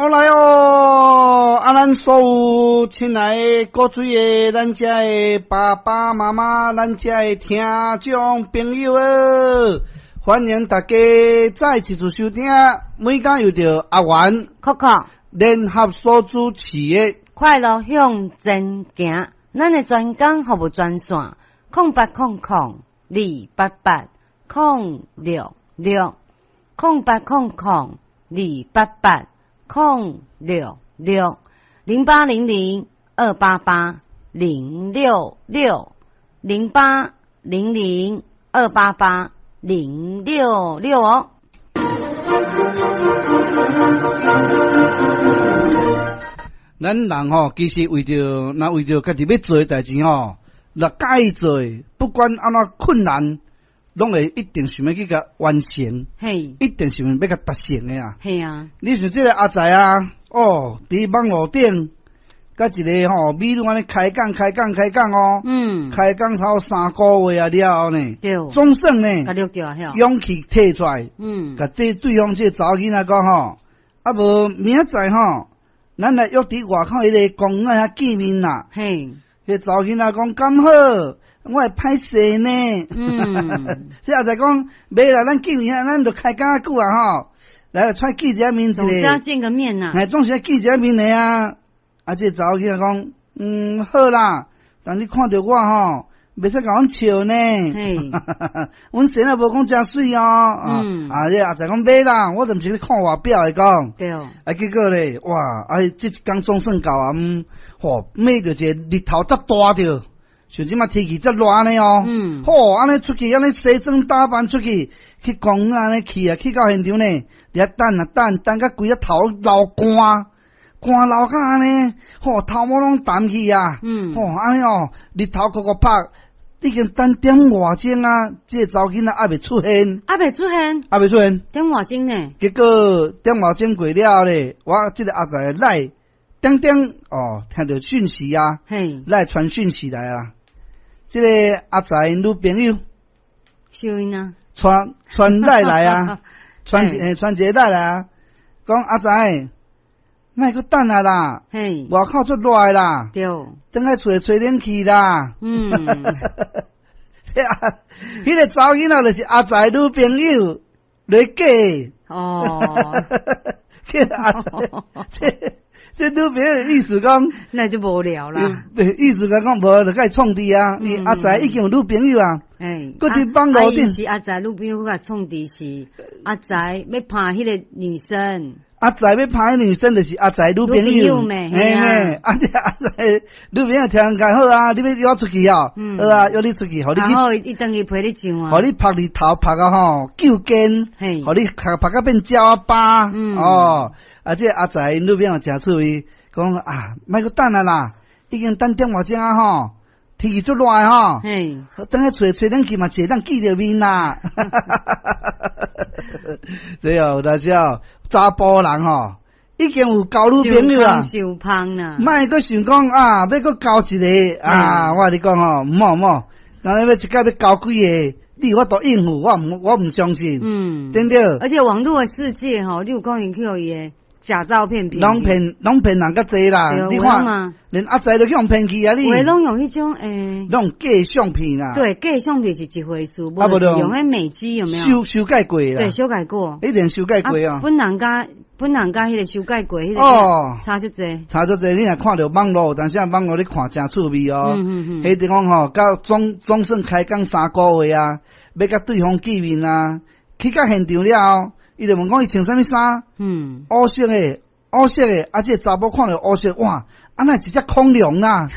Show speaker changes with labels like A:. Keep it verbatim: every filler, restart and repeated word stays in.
A: 哦來哦，啊，咱所有親愛的古錐的咱遮的爸爸媽媽，咱遮的聽眾朋友哦，歡迎大家再一次收聽，每工由著阿元
B: 扣扣
A: 聯合所主持的
B: 快樂向前行，咱的專工服務專線：空八空空二八八空六六空八空空二八八空六六零八零零二八八零六六零八零零二八八零六六哦。
A: 咱人吼，其實為著若為著家己欲做的代誌吼，若佮意做的，不管按怎困難，攏會一定想欲去共完成，
B: 嘿，
A: 一定想欲共達成的啊！
B: 嘿啊！
A: 你像這個阿財啊，哦，佇網路頂，佮一个吼美女按呢開講開講開講哦，
B: 嗯，
A: 開講超三個月啊了後呢，
B: 對，
A: 總算呢，
B: 共錄著啊，
A: 勇氣提出來，
B: 嗯，
A: 共對對方這個查某囡仔講吼，啊無明仔載吼，咱來約佇外口彼个公園遐見面啦。
B: 嘿，
A: 彼个查某囡仔講敢好，我會歹勢呢。
B: 嗯，
A: 這阿財講，袂啦，咱見面啊，咱就開講較久啊吼，來出來見一下面一
B: 總是要見個面吶。
A: 嘿，總是要見一下面的啊。啊，這個查某囡仔講，嗯，好啦，但你看著我吼，袂使共阮笑呢。
B: 嘿，
A: 阮生也無講誠媠哦。
B: 嗯，
A: 啊，這阿財講袂啦，我就毋是咧看外表的講。
B: 對。
A: 啊，結果咧，哇，啊，這一工總算到啊，嗯，吼，覓著一個日頭遮大著，像這馬天氣遮熱按呢哦。
B: 嗯。
A: 吼，按呢出去，按呢西裝打扮出去，去公園按呢去啊，去到現場呢，佇遐等啊等，等甲規個頭流汗，汗流甲按呢，吼，頭毛攏澹去啊。
B: 嗯。
A: 吼，按呢哦，日頭酷酷曬，已經等點外鐘啊，這個查某囡仔猶未出現。
B: 猶未出現。
A: 猶未出現。
B: 點外鐘呢？
A: 結果點外鐘過了咧，我這個阿財來點點哦，聽著訊息啊，
B: 嘿，
A: 來傳訊息來啊。這個阿財女朋友，
B: 啥因啊？
A: 傳傳來來啊，傳欸傳一個來來啊，講阿財，莫閣等啊啦，
B: 嘿，
A: 外口足熱的啦，
B: 對，
A: 轉來厝吹冷氣啦。
B: 嗯，
A: 這啊，彼個查某囡仔就是阿財女朋友來假的。
B: 哦，
A: 這阿財，這這女朋友意思講，
B: 那就無聊啦。
A: 意思講講無就共伊創治啊，伊阿財已經有女朋友啊。
B: 欸，
A: 閣佇網路頂
B: 是阿財女朋友佮創治是阿財欲拍彼個女生。
A: 阿財欲拍彼女生，就是阿財女朋友。
B: 嘿
A: 嘿，啊這阿財女朋友聽講好啊，你欲約我出去哦？好啊，約你出去，予你去。
B: 然後伊轉去陪你上啊。
A: 予你曝日頭曝啊吼，救肩，
B: 予
A: 你曝曝甲變鳥仔疤。
B: 嗯。
A: 哦，啊這阿財女朋友誠趣味，講啊，莫閣等啊啦，已經等點外鐘啊吼，天氣足熱的吼。
B: 嘿。
A: 轉來厝吹冷氣嘛，是會當見著面啦。這哦，有當時哦，查埔人吼，已經有交女朋友啦。
B: 傷芳啦。
A: 莫閣想講啊，欲閣交一个啊！我共你講吼，毋好毋好，按呢欲一擺欲交幾个，你有法度應付，我毋我毋相信。
B: 嗯，
A: 對毋對？
B: 而且網路的世界吼，你有可能去予伊的假照片騙。
A: 攏騙攏騙人較濟啦，你看，連阿財都去予騙去啊！你。
B: 有的攏用彼種欸，
A: 攏假相片啦。
B: 對，假相片是一回事，無就是用彼美肌有沒有？
A: 修修改過啦。
B: 對，修改過。
A: 一定修改過啊。
B: 本人佮本人佮彼个修改過彼个
A: 哦，
B: 差足濟。
A: 差足濟，你若看著網路，但是網路你看誠趣味哦。
B: 嗯嗯嗯。
A: 彼地方吼，到總總算開講三個月啊，欲共對方見面啊，去到現場了後，伊就問講伊穿啥物衫？
B: 嗯。
A: 烏色的，烏色的，啊，這个查某看著烏色，哇，啊，哪會一隻恐龍啊？